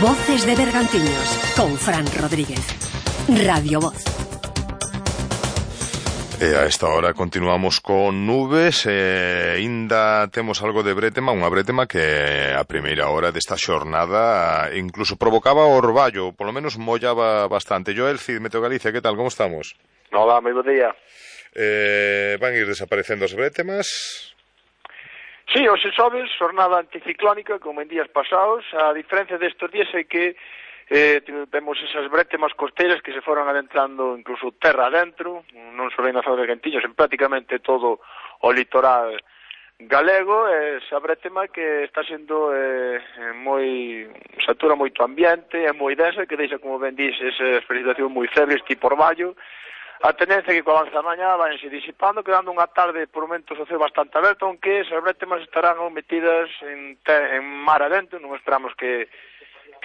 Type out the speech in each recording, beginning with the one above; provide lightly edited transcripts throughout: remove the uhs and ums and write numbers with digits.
Voces de Bergantiños, con Fran Rodríguez. Radio Voz. E a esta hora continuamos con nubes e ainda temos algo de brétema, unha brétema que a primeira hora desta xornada incluso provocaba orballo, polo menos mollaba bastante. Joel Cid, Meteo Galicia, que tal, como estamos? Hola, moi bo día. Van ir desaparecendo as brétemas? Sí, hoxe xoves, xornada anticiclónica, como en días pasados. A diferencia destes días é que temos esas brétemas costeiras que se foron adentrando incluso terra adentro, non só na zona de Bergantiños, en prácticamente todo o litoral galego. Esa brétema que está sendo moi satura moito ambiente, é moi densa, que deixa, como ben dís, esa precipitación moi febles, tipo orballo. A tendencia é que co avance da mañá vanse disipando, quedando unha tarde por momentos o ceo bastante aberto, aunque esas brétemas estarán metidas en mar adentro, non esperamos que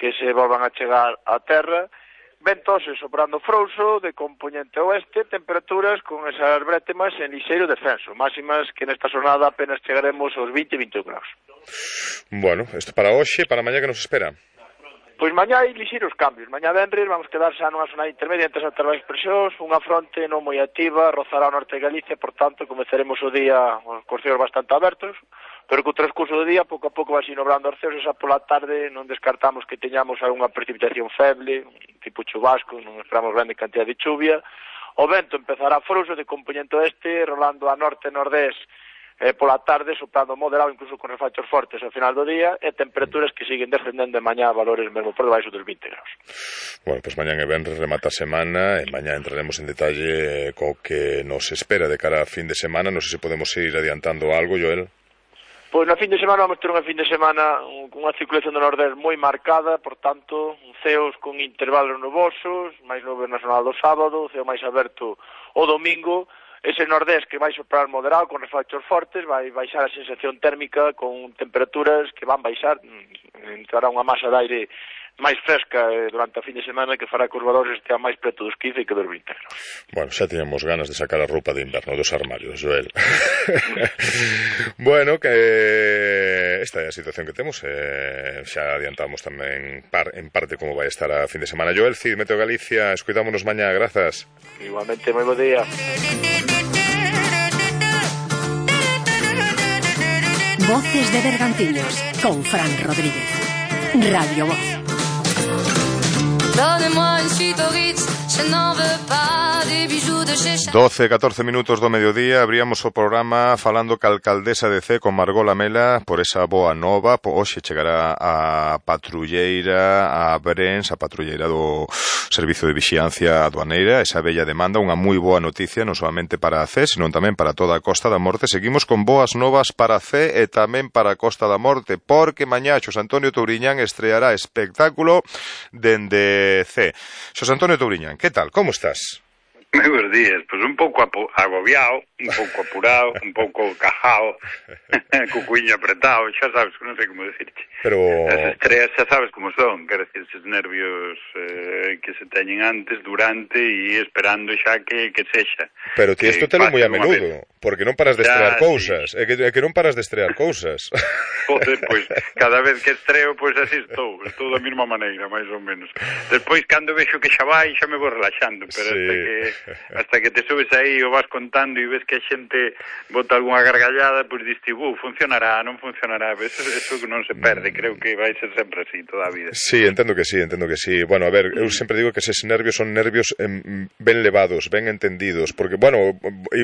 se volvan a chegar á terra. Ventos soprando frouxo de componente oeste, temperaturas con esas brétemas en lixeiro descenso, máximas que nesta xornada apenas chegaremos aos 20-21 graus. Bueno, isto para hoxe, para mañá que nos espera? Pois mañá hai lixeiros cambios. Mañá venres vamos quedar xa nunha zona intermedia entre as altas presións, unha fronte non moi activa, rozará o norte de Galicia, por tanto, comezaremos o día cos ceos bastante abertos, pero co transcurso do día, pouco a pouco vai inobrando os ceos, e xa pola tarde non descartamos que teñamos algunha precipitación feble, tipo chubasco, non esperamos grande cantidad de chuvia. O vento empezará frouxo de componente oeste, rolando a norte-nordés, pola tarde, soprando moderado, incluso con refachos fortes ao final do día, e temperaturas que siguen descendendo de mañá a valores mesmo por debaixo dos 20 graus. Bueno, pois mañá e venres remata a semana, e mañá entraremos en detalle co que nos espera de cara a fin de semana. Non sei se podemos ir adiantando algo, Joel. Pois na fin de semana vamos ter unha fin de semana con unha circulación do nordés moi marcada, por tanto, ceos con intervalos nubosos, máis nubes na zona do sábado, ceo máis aberto o domingo. Ese nordés que vai soprar moderado con refachos fortes, vai baixar a sensación térmica con temperaturas que van baixar, entrará unha masa de aire máis fresca durante a fin de semana que fará que os valores estean máis preto dos 15 que dos 20 graus. Bueno, xa teníamos ganas de sacar a roupa de inverno dos armarios, Joel. Bueno, que esta é a situación que temos, xa adiantamos tamén en parte como vai estar a fin de semana. Joel Cid, Meteo Galicia, escuitámonos mañá, grazas. Igualmente, moi bo día. Voces de Bergantiños, con Fran Rodríguez. Radio Voz. Donnez-moi une suite au Ritz, je n'en veux pas des bijoux de chez 12-14 minutos do mediodía, abríamos o programa falando ca alcaldesa de Cee, con Margot Lamela, por esa boa nova. Hoxe chegará a patrulleira a Brens, a patrulleira do Servicio de Vixiancia Aduaneira, esa bella demanda, unha moi boa noticia, non solamente para a Cee, senón tamén para toda a Costa da Morte. Seguimos con boas novas para Cee e tamén para a Costa da Morte, porque mañá Xosé Antonio Touriñán estreará espectáculo dende Cee. Xosé Antonio Touriñán, que tal? Como estás? Moi bons días, pois un pouco agobiado, un pouco apurado, un pouco cajao, co cuiño apretado, xa sabes, non sei como decirte. Pero as estreas xa sabes como son, quero decir, esos nervios que se teñen antes, durante e esperando xa que sexa. Pero ti isto telo moi a menudo, porque non paras de estrear cousas, sí. É que non paras de estrear cousas. Joder, pois, cada vez que estreo, pois así estou da mesma maneira, máis ou menos. Despois, cando vexo que xa vai, xa me vou relaxando, pero sí. hasta que te subes aí o vas contando e ves que a xente bota algunha gargallada, pois diste, funcionará, non funcionará, eso non se perde, creo que vai ser sempre así toda a vida. Sí, entendo que sí. Bueno, a ver, eu sempre digo que eses nervios son nervios ben levados, ben entendidos, porque, bueno,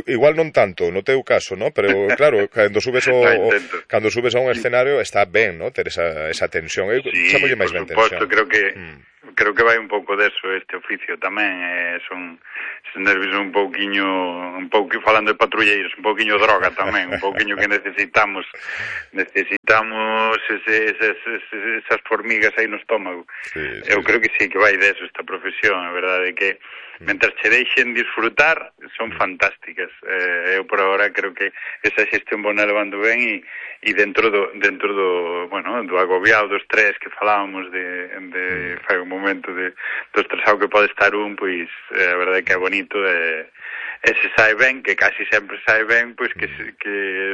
igual non tanto, no teu caso, ¿no? Pero, claro, cando subes a un escenario está ben, ¿no? Ter esa tensión. Eu chamolle máis ben tensión. Por suposto, creo que vai un pouco deso este oficio tamén, son nervios un pouco falando de patrulleiros, un pouquiño droga tamén, un pouquiño que necesitamos esas formigas aí no estómago. Sí. Eu creo que sí, que vai deso esta profesión, a verdade é que mentras che deixen disfrutar son fantásticas. Eu por agora creo que esa xestión vou levando ben e dentro do agobiado, do estrés que falábamos de fai un momento momento do estresado que pode estar pois a verdade que é bonito e se sae ben, que casi sempre sae ben, pois que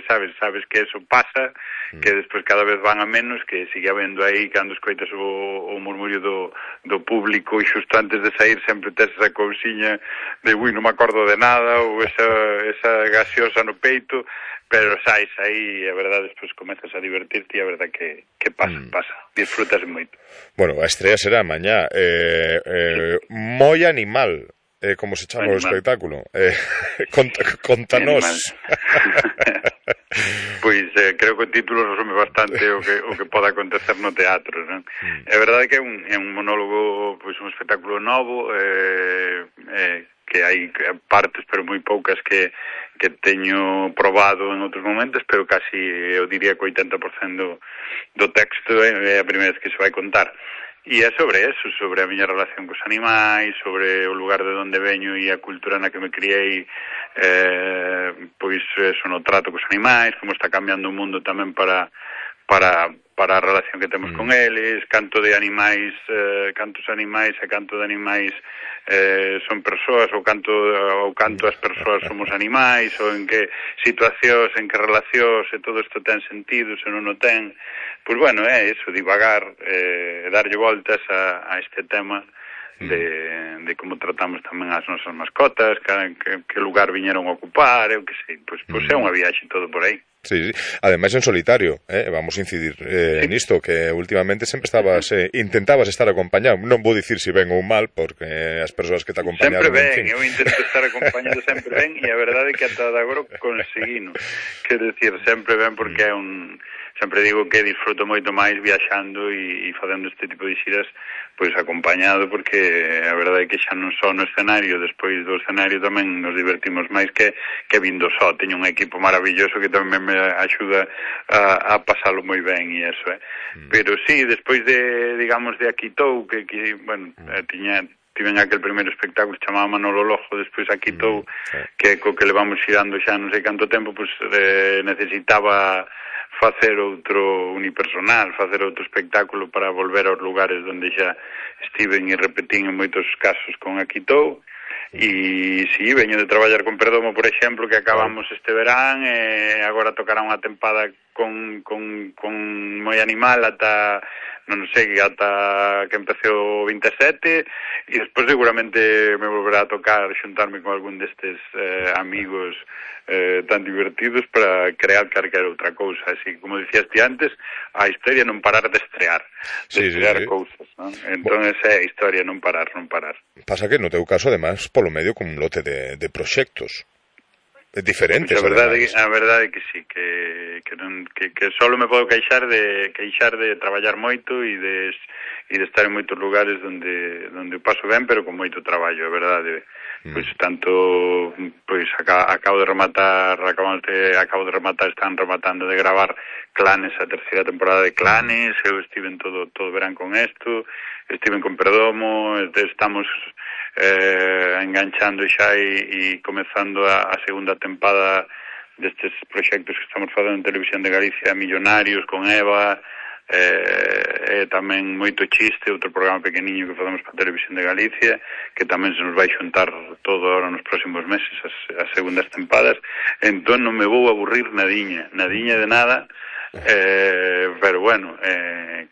sabes que eso pasa, que despois cada vez van a menos, que sigue habendo aí cando escoitas o murmurio do público e xusto antes de sair sempre tes esa cousiña de non me acordo de nada ou esa gaseosa no peito, pero saes aí e a verdade despois comezas a divertirte e a verdade que pasa, disfrutas moito. Bueno, a estrea será mañá, moi animal. Como se chama o espectáculo? Contanos. Pois creo que o título resume bastante o que pode acontecer no teatro, non? É verdade que é un monólogo, pois un espectáculo novo, que hai partes pero moi poucas que teño probado en outros momentos, pero casi eu diría que 80% do texto é a primeira vez que se vai contar. E é sobre eso, sobre a miña relación cos animais, sobre o lugar de onde veño e a cultura na que me criei, pois eso no trato cos animais, como está cambiando o mundo tamén para a relación que temos con eles, canto de animais, cantos animais e canto de animais son persoas ou canto as persoas somos animais, ou en que situacións, en que relacións, e todo isto ten sentido, se non o ten. Pois bueno, é eso, divagar, darlle voltas a este tema de como tratamos tamén as nosas mascotas, que lugar viñeron a ocupar, eu que sei, pois é unha viaxe todo por aí. Sí, ademais en solitario, vamos a incidir nisto, que últimamente sempre intentabas estar acompañado, non vou dicir se ben ou mal, porque as persoas que te acompañaron... Sempre ben, eu intento estar acompañado sempre ben, e a verdade é que ata agora conseguino, quero dicir, sempre ben, porque é sempre digo que disfruto moito máis viaxando e facendo este tipo de xiras pois acompañado, porque a verdade é que xa non só no escenario, despois do escenario tamén nos divertimos máis que vindo só. Teño un equipo maravilloso que tamén me axuda a pasalo moi ben e eso, Pero sí, despois digamos de Aquitou, que bueno, tiven aquel primeiro espectáculo chamado Manolo Lojo, despois Aquitou, que co que levamos xirando xa non sei canto tempo, pois necesitaba facer outro unipersonal, facer outro espectáculo para volver aos lugares onde xa estiven e repetín en moitos casos con Aquitou. E si, veño de traballar con Perdomo, por exemplo, que acabamos este verán, e agora tocará unha tempada con moi animal ata non sei, ata que empecé o 27, e despois seguramente me volverá a tocar xuntarme con algún destes amigos tan divertidos para crear calquera outra cousa. Así, como dicías ti antes, a historia non parar de estrear, cousas, non? Entón esa é a historia, non parar. Pasa que no teu caso, además, polo medio con un lote de proxectos diferentes, pues a verdade é que sí, que só me podo queixar de traballar moito e de estar en moitos lugares onde paso ben, pero con moito traballo, é verdade. Pois tanto, pois acabo de rematar, están rematando de gravar Clanes, a terceira temporada de Clanes, eu estiven todo verán con isto, estiven con Perdomo, estamos enganchando xa e comezando a segunda tempada destes proxectos que estamos facendo en Televisión de Galicia, Millonarios, con Eva, tamén Moito Chiste, outro programa pequeniño que facemos para Televisión de Galicia, que tamén se nos vai xuntar todo agora nos próximos meses, as segundas tempadas. Entón non me vou aburrir nadiña de nada, pero bueno,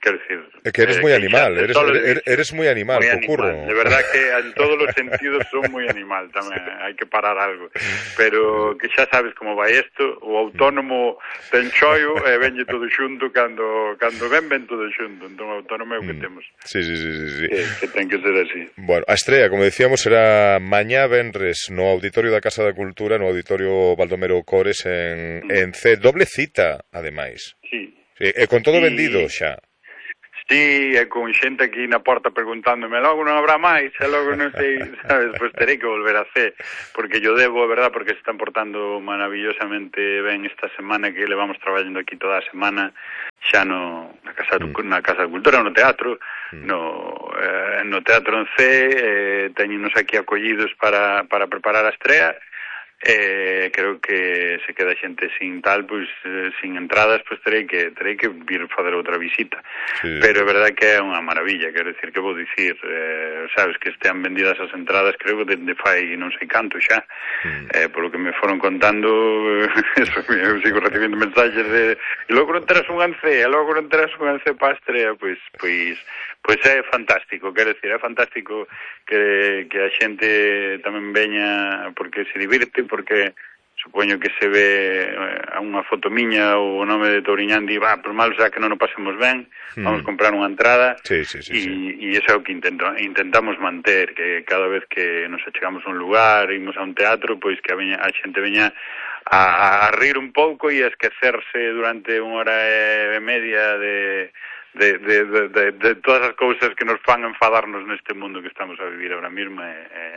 quero dicir... É que eres moi animal, eres moi animal, curro. De verdad que en todos os sentidos son moi animal tamén, hai que parar algo. Pero que xa sabes como vai isto, o autónomo ten choio e venlle todo xunto, cando ven todo xunto, entón o autónomo é o que temos. Sí. Que ten que ser así. Bueno, a estrea, como decíamos, será mañá venres no Auditorio da Casa da Cultura, no Auditorio Baldomero Cores en C, doble cita, ademais. Sí. E con todo vendido xa. Sí, e con xente aquí na porta preguntándome, logo non habrá máis, e logo non sei, sabes, pois terei que volver a hacer, porque yo debo, verdad, porque se están portando maravillosamente ben esta semana, que levamos traballando aquí toda a semana, xa na Casa da Cultura, no teatro, no Teatro en C, teñenos aquí acollidos para preparar a estrea, creo que se queda xente sin tal, pois sin entradas, pois terei que vir fazer outra visita. Sí. Pero é verdade que é unha maravilla, quero dicir, que vou dicir, sabes, que estean vendidas as entradas, creo que de fai non sei canto xa, polo que me foron contando, eso, eu sigo recibindo mensaxes de, e logo non terás un ancé, para a estrea, pois é fantástico, quero dicir, é fantástico que a xente tamén veña porque se divirte, porque supoño que se ve a unha foto miña ou o nome de Touriñán di, por mal xa que non o pasemos ben, vamos comprar unha entrada, e iso é o que intentamos manter, que cada vez que nos achegamos a un lugar, imos a un teatro, pois que a xente veña a rir un pouco e a esquecerse durante unha hora e media de todas as cousas que nos fan enfadarnos neste mundo que estamos a vivir ahora mesmo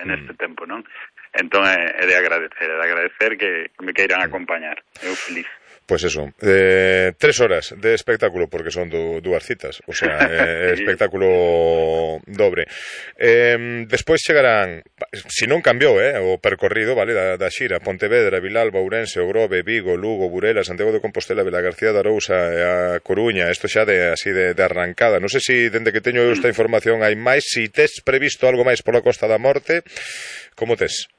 neste tempo, non? Entón é de agradecer que me queiran acompañar. Eu feliz. Pois eso, 3 horas de espectáculo, porque son dúas citas, o sea, espectáculo dobre. Despois chegarán, se non cambiou, o percorrido, vale, da xira, Pontevedra, Vilalba, Ourense, Ogrove, Vigo, Lugo, Burela, Santiago de Compostela, Vilagarcía de Arousa e a Coruña, isto xa así de arrancada. Non sei se, dende que teño esta información, hai máis, se tes previsto algo máis pola Costa da Morte, como tes?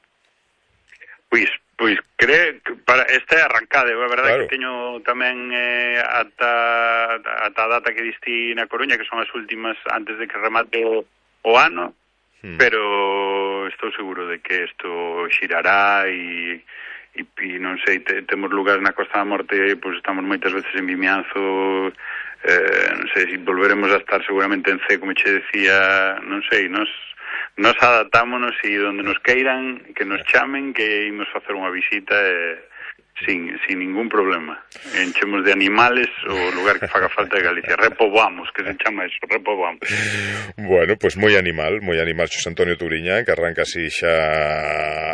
Pois creo que para esta é arrancada, é verdade, claro, que teño tamén ata a data que diste na Coruña, que son as últimas antes de que remate o ano, pero estou seguro de que isto xirará e non sei, temos lugares na Costa da Morte, pois estamos moitas veces en Vimianzo, non sei, se volveremos a estar seguramente en C, como che decía, non sei, nos adaptámonos e onde nos queiran, que nos chamen, que imos facer unha visita sin ningún problema. Enchemos de animales o lugar que faga falta de Galicia. Repoboamos, que se chama eso, repoboamos. Bueno, pues moi animal Xosé Antonio Touriñán, que arranca así xa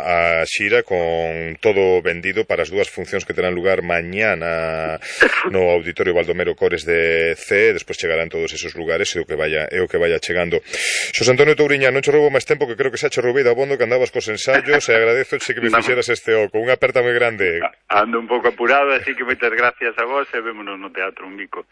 a xira con todo vendido para as dúas funcións que terán lugar mañana no Auditorio Baldomero Cores de C, despois chegarán todos esos lugares e o que vaya chegando. Xosé Antonio Touriñán, non che roubo máis tempo, que creo que xa che roubei da abondo que andabas cos ensayos, e agradezo que me fixeras este oco. Unha aperta moi grande. Ando un pouco apurado, así que moitas gracias a vos e vémonos no teatro. Un bico.